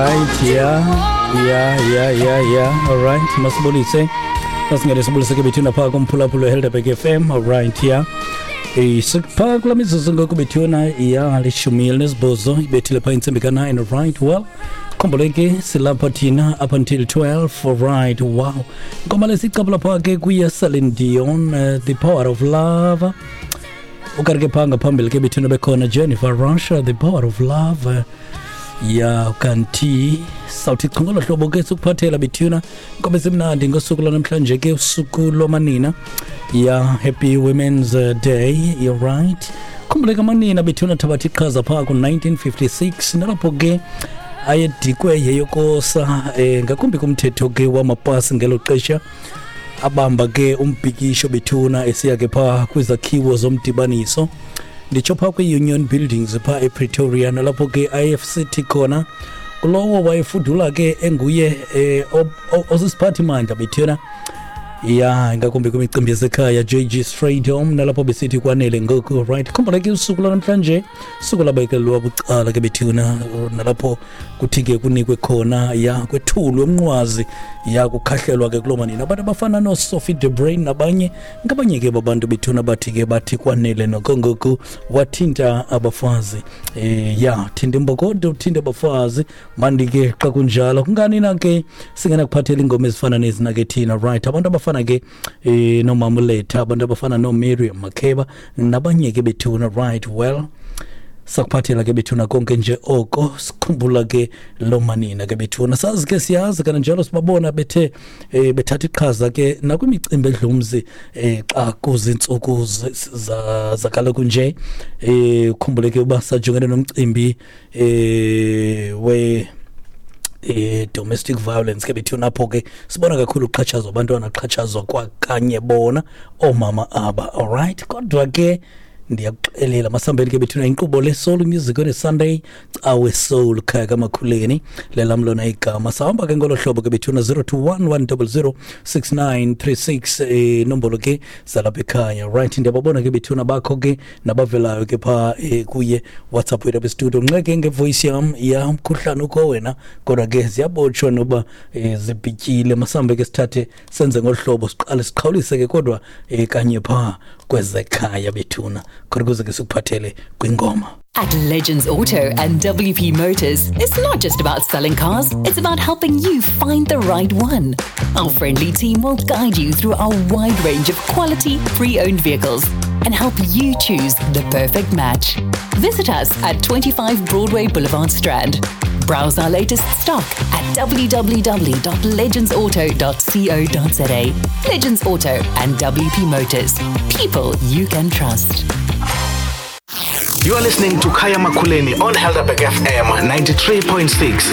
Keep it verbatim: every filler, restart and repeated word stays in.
Alright, yeah, yeah, yeah, yeah, yeah. Alright, masibulise. Masingene sibulise ke bethuna phaa kumphulaphula Helderberg F M. Alright, yeah. Eh sikupha kula mizuzu ngoku bethuna, ya, lishumi elinesibhozo ibethile phaa intsimbi ka-nine. Alright, well, khumbule ke silapha thina up until twelve. Alright, wow. Ingoma lesicapula phaa ke kuye Celine Dion, uh, The Power of Love. Ukanti ke phaa ngaphambili ke bethuna bekhona Jennifer Rush, The Power of Love. Uh, ya kanti sawuthi chu ngolo hlobo ke sikuphathela bethuna inkobe ezimnandi ngosuku lwanamhlanje ke, usuku lwamanina. Ya, happy Women's Day. You're right, khumbuleka amanina bethuna thabatha iqhaza phaa ku-nineteen fifty-six, nalapho ke ayedikwe yeyokosa eh, ngakumbi kumthetho ke wamapasi ngelo xesha. Abamba ke umbhikisho bethuna esiya ke phaa kwizakhiwo zomdibaniso, nditsho phaa kwi-Union Buildings phaa ePretoria, nalapho ke I F C T khona kulowo wayefudula ke enguye eh, osisiphathimandla bethuna, ya, ngakumbi kwimicimbi yasekhaya, J G Strijdom, nalapho besithi kwanele ngoku. Right, khumbula ke usuku lwanamhlanje usuku labekelwa bucala ke bethuna, nalapho kuthi ke kunikwe khona, ya, kwethulwe umnqwazi, ya, kukhahlelwa ke kuloo manina, abantu abafana nooSophie de Bruyn nabanye ngabanye ke babantu bethuna bathi ke bathi kwanele noko ngoku, wathinta abafazi. eh ya thinta imbokodo, uthinta abafazi mandi ke. Xa kunjalo kungani na ke singenakuphathela ingoma ezifana nezi na ke thina? Right, abantu abafana ke eh nomama uLetta, abantu abafana noMiriam Makeba nabanye ke bethuna. Right, well, sakuphathela ke bethuna konke nje oko sikhumbula ke lo manina ke bethuna. Sazi ke, siyazi kananjalo, sibabona bethe eh, bethatha iqhaza ke nakwimicimbi edlumzi eh, xa kuzintsuku zakaloku nje. eh ukhumbule ke uba sajongene nomcimbi eh we eh domestic violence ke bethuna, apho ke sibona kakhulu uxhatshazwa abantwana, xhatshazwa kwakanye bona oomama aba. Alright, kodwa ke ndiyakuxelela, masambeni ke bethuna, inkqubo le Soul Music on a Sunday, Cawe Soul, khaya kamakhuleni lelam lona igama. Sahamba ke ngolo hlobo ke bethuna, zero two one, one zero zero, six nine three six, eh nombolo ke zalapha ekhaya. Right, ndiyababona ke bethuna bakho ke nabavelayo ke phaa eh, kuye WhatsApp wethu apha studio. Nxeke ngevoice yam, ya, umkhuhlane ukho wena, kodwa ke ziyabotshwa noba eh, zibhityile. Masambe ke sithathe senze ngolu hlobo, siqale siqhawulise ke kodwa eh, kanye phaa kwezekhaya bethuna, khona ukuze ke sikuphathele kwingoma. At Legends Auto and W P Motors, it's not just about selling cars, it's about helping you find the right one. Our friendly team will guide you through our wide range of quality, pre owned vehicles and help you choose the perfect match. Visit us at twenty-five Broadway Boulevard, Strand. Browse our latest stock at w w w dot legendsauto dot co dot za. Legends Auto and W P Motors. People you can trust. You are listening to Kaya Makuleni on Helderberg F M ninety-three point six.